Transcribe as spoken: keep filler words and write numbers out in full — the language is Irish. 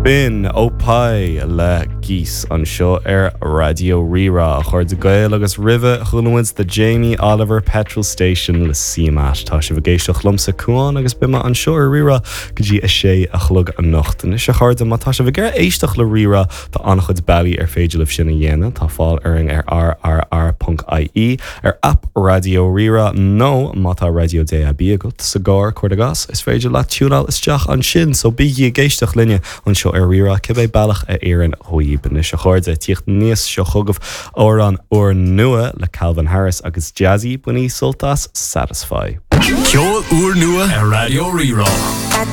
B'in Opie le Geese anseo ar Raidió Rí-Rá a chairde Gael agus roimhe chuala muid the Jamie Oliver Petrol Station le CMAT Tá sibh ag éisteacht liomsa Cuán agus beidh mé anseo ar Rí-Rá go dtí a sé a chlog anocht. Anois a chairde má tá sibh ag éisteacht le Rí-Rá tá an-chuid bealaí ar féidir libh sin a dhéanamh tá fáil orainn ar rrr.ie ar app Raidió Rí-Rá nó má tá raidió DAB agat sa gcarr cuir i gcás is féidir leat tiúnáil isteach ansin so bígí ag éisteacht linne anseo ar Rí-Rá cibé bealach a oireann daoibh anois a chairde tíocht níos seo chugaibh amhrán úrnua le Calvin Harris agus Jazzy bainigí sult as Satisfy. Ceol úrnua ar Raidió Rí-Rá.